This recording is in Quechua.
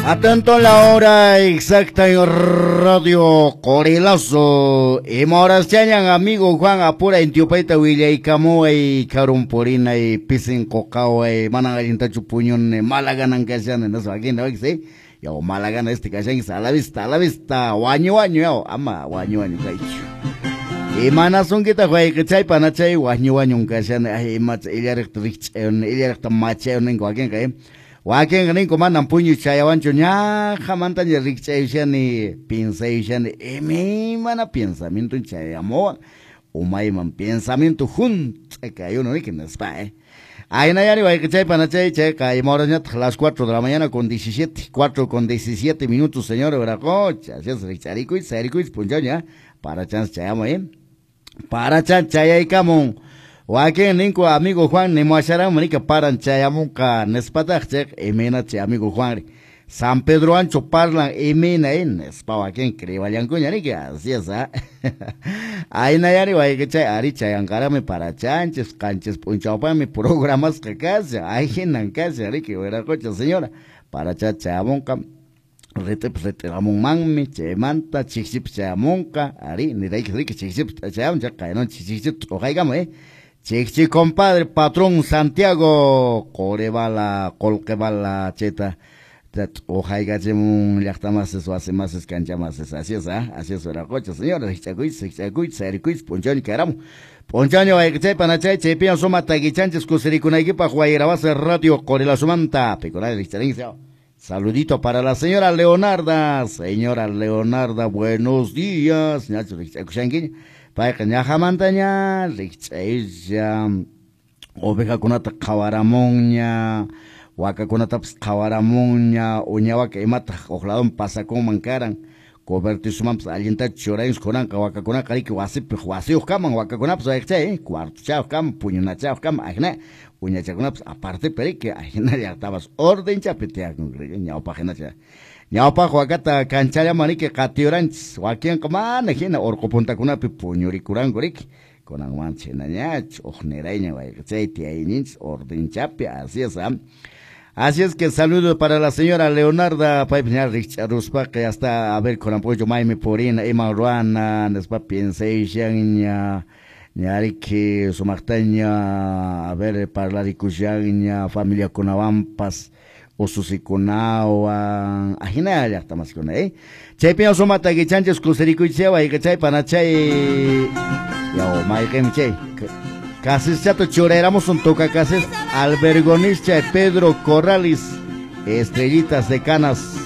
Atento la hora exacta en Radio Qorilazo. Ima horas chañan amigo Juan apura intiupaita willaykamuway karunpurinay pisin quqaway manan allintachu puñuni malaganan kashani nispa wakinta waki sí yaw malagana este kashanki a la vista wañu wañu yaw ama wañu wañu kaychu. Imanasunkitaq wayqichay panachay wañu wañun kashani ay imacha illariqta rikch'ayuni illariqta machayuni ninku wakinqa wakinqa ninku manan puñuy chayawanchu ñaqhamantaña rikch'ayushani piensayushani imaymana pensamiento chayamuwan umayman pensamiento hunt'a kayuno riki nispa Aynayari wayqichay panachay chayqa ima horasñataq las 4 de la mañana con 17, 4 con 17 minutos señor Viracocha, así es rikch'arikuychis sayrikuychis p'unchawña para chance chayamuy para chan chayaykamun. Wakin ninku amigo Juan nimuwasharanmi riki paran chayamunqa nispataq chayqa imayna chay amigo Juan ri San Pedro Ancho parlan imayna nispa wakin creewallankuña riki así es Aynayari wayqichay ari chayanqaraqmi para chanchis qanchis p'unchawpaqmi programasqa kashan ayhinan kashan riki Viracocha señora para cha chayamunqa rit'ipas rit'iramunmanmi chaymanta chikchipas chayamunqa ari nirayki riki chikchipas chayamun chayqa kaynan chikchita t'uqaykamuy Chikchi compadre patrón Santiago Qoribala Qolqibala chayta t'uqaykachimun llaqtamasis wasimasis kanchamasis así es así es Viracocha señora rikch'akuychis rikch'akuychis sayrikuychis p'unchawña kayramun p'unchawña wayqichay panachay chaypiña suma takichanchis kusirikunaykipaq wayrawasi Radio Qorilazomanta pikunay rikch'arinki. Saludito para la señora Leonarda. Señora Leonarda, buenos días. Ñachu rikch'akushankiña payqa ñaqhamantaña rikch'aylla ovejakunata qhawaramunña wakakunatapas qhawaramunña uña waka imataq huk ladoman pasakunman karan cobertizomanpas allintachu churayunchis kunanqa wakakunaqa riki wasipi wasiyuq kaman wakakunapas wayqichay cuartochayuq kaman puñunachayuq kaman ahina uñachakunapas apartepi riki ahina llaqtapas ordenchapi tiyakun riki ñawpaq hinacha ñawpaq wakata kanchallaman riki qatiyuranchis wakinqa mana hina urqu puntakunapi puñurikuranku riki kunan mancha hinañachu huk nirayña wayqichay tiyayninchis ordenchapi así es Así es que saludo para la señora Leonarda, paypas ña rikch'aruspaqa hasta a ver kunan p'unchaw maymi purina iman ruwana nispa piensayushanña ñariki sumaqtaña a ver parlarikushanña familiakunawanpas ususikunawan ahina llaqtamasikuna chaypiña suma takichanchis kusirikuychis wayqichay panachay yaw mayqinmi chay Casischato churayramusun toca casis albergonischa Pedro Corrales, estrellitas de canas.